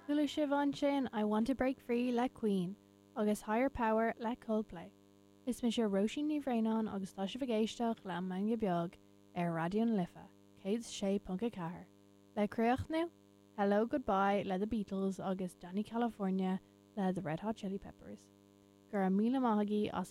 Chuala sibh ansin I Want to Break Free le Queen agus Higher Power le Coldplay. Is mise Róisín Ní Bhraonáin agus tá sibh ag éisteacht le An Meangadh Beag ar Raidió na Life 106.4. Le críochnú, Hello Goodbye le The Beatles agus Dani California le The Red Hot Chili Peppers. Go raibh míle maith agaibh as a.